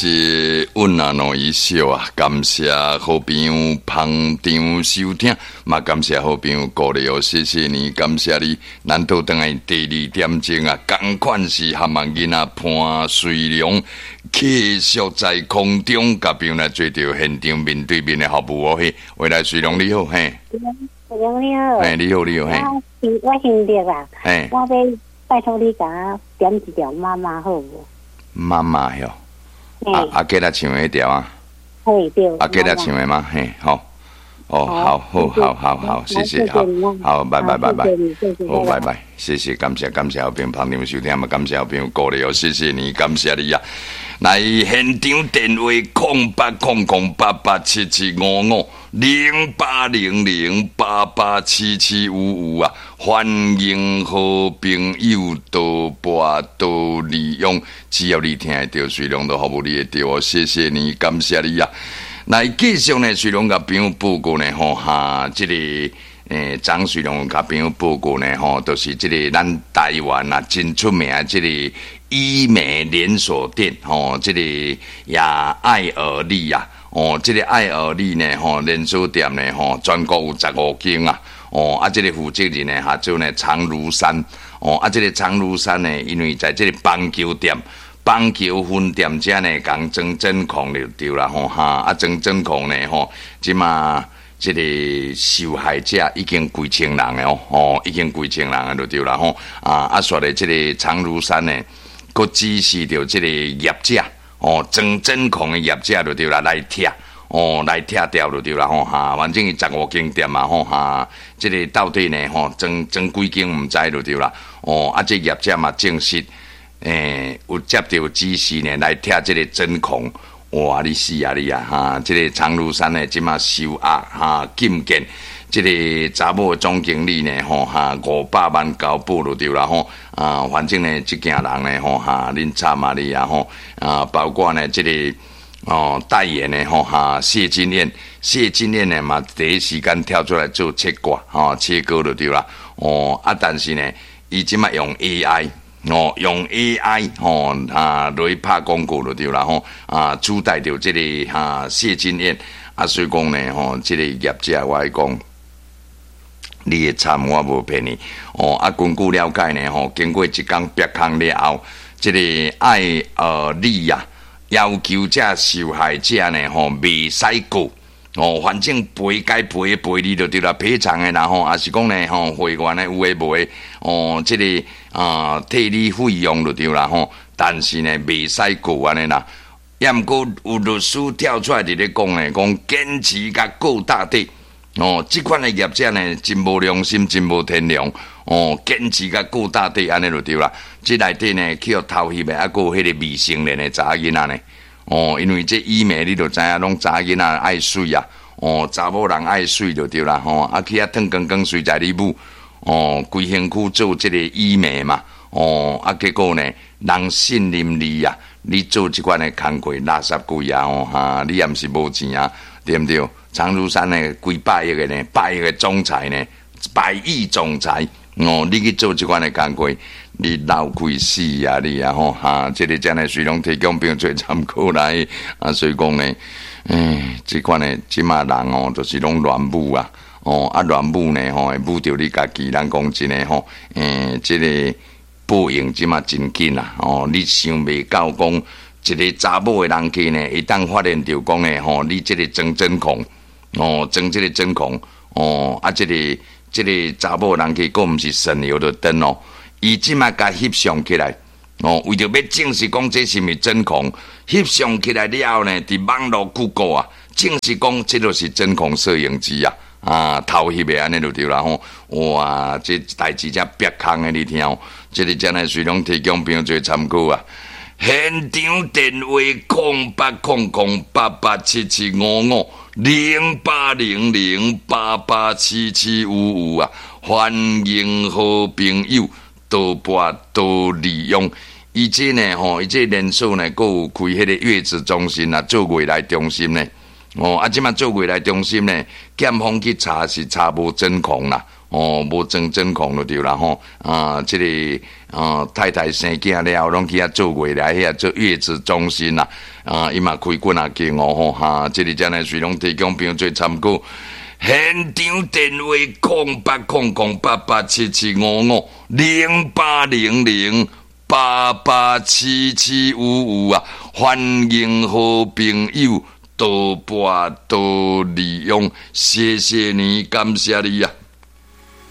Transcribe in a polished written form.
是阮阿諾一秀啊，感謝好朋友捧場收聽，嘛感謝好朋友鼓勵哦，謝謝你，感謝你。咱倒轉來第二點鐘啊，仝款是含萬囡仔潘瑞良，繼續在空中共朋友來做著現場面對面的服務哦。嘿，喂，來瑞良你好，嘿，瑞良你好，嘿，你好，你好，嘿，我姓聶啊，嘿，我欲拜託你共我點一條媽媽好無？媽媽喲。啊阿吉來唱的彼條啊，嘿對，阿吉來唱的嗎？嘿，好，哦，好，好，好，好，好，謝謝，好，好，拜拜，拜拜，好，拜拜，謝謝，感謝，感謝好朋友捧場收聽嘛，感謝好朋友鼓勵哦，謝謝你，感謝你啊！來現場電話08008877550800887755啊！歡迎好朋友多撥多利用，只要你聽會著，瑞良都服務你會著哦。謝謝你，感謝你啊！來繼續呢，瑞良共朋友報告呢，吼哈，這個張瑞良共朋友報告呢，吼，就是這個咱台灣啊，真出名這個醫美連鎖店，吼，這個亞愛爾利啊，哦，這個愛爾利呢，吼，連鎖店呢，吼，全國有15間啊。哦，啊，這個負責人呢，叫做呢長如山。哦，啊，這個長如山呢，因為在這個邦橋店、邦橋分店遮呢，共裝針孔就對啦，吼哈，啊，裝針孔呢，吼，這馬這個受害者已經幾千人的哦，吼，已經幾千人的就對啦，吼，啊，啊，煞咧這個長如山呢，閣指示著這個業者，哦，裝針孔的業者就對啦，來拆。哦，來拆掉就對啦，吼哈，反正伊十五間店嘛，吼哈，這個到底呢，吼裝裝幾間毋知就對啦。哦，啊，這業者嘛證實，有接著指示呢來拆這個針孔。哇，你死啊你啊，哈！這個長如山呢，這馬收押哈禁見，這個查某總經理呢，吼哈500萬交保就對啦，吼啊，反正呢，這件人呢，吼哈，恁慘啊你啊，吼啊，包括呢，這個。哦，代言的吼哈，謝金燕，謝金燕呢嘛，第一時間跳出來做切割，吼切割就對啦。哦啊，但是呢，伊這馬用 AI，哦，用 AI 吼啊來拍廣告就對啦，吼啊，取代著這個哈謝金燕啊，所以講呢，吼，這個業者我愛講，你會慘，我無騙你。哦啊，根據了解呢，吼，經過一工煏空了後，這個愛爾利啊。要求這受害者呢，吼，袂使告，哦，反正賠該賠的賠你就對啦，賠償的啦吼，抑是講呢，吼，會員的有的無的，哦，這個啊，退你費用就對啦吼，但是呢，袂使告按呢啦。抑毋過有律師跳出來佇咧講呢，講堅持共告到底，哦，這款的業者呢，真無良心，真無天良，哦，堅持共告到底按呢就對啦。這內底呢，去予偷翕的，抑閣有彼個未成年的查某囡仔呢。哦，因為這醫美你就知影，攏查某囡仔愛媠啊。哦，查某人愛媠就對啦。吼，啊去遐褪光光，隨在你舞。哦，規身軀做這個醫美嘛。哦，啊結果呢，人信任你啊，你做這款的工課垃圾鬼啊！吼哈，你也毋是無錢啊，對毋對？長如山呢，幾百億的呢，百億的總裁呢，百億總裁。哦，你去做這款的工課，你鬧開死啊你啊吼哈！這個真的隨攏提供朋友做參考來啊，所以講呢，唉，這款的這馬人哦，就是攏亂舞啊，哦啊亂舞呢吼，會舞著你家己。咱講真的吼，這個報應這馬真緊啊！哦，你想袂到講一個查某的人客呢，會當發現著講呢吼，你這個裝針孔，哦，裝這個針孔，哦啊這個。這個查某人去，閣毋是省油的燈哦。伊這馬共翕相起來，哦，為著欲證實講這是毋是針孔，翕相起來了後呢，佇網路 Google 啊，證實講這就是針孔攝影機啊，啊，偷翕的按呢就對啦吼。哇，這代誌才煏空的，你聽哦，這個真的隨攏提供朋友做參考啊。現場電話08008877550800887755啊！歡迎好朋友多撥多利用。伊這呢吼，伊這連鎖呢，閣有開彼個月子中心啊，做月內中心呢。哦，啊，這馬做月內中心呢，檢方去查是查無針孔啦。哦，無裝真空就對啦吼。啊，這个啊太太生囝了後，攏去遐做月來遐做月子中心啦。啊，伊嘛開幾若間哦吼，哈，這个才來隨攏提供朋友做參考。現場電話0800887755，0800887755啊！歡迎好朋友多撥多利用，謝謝你，感謝你啊！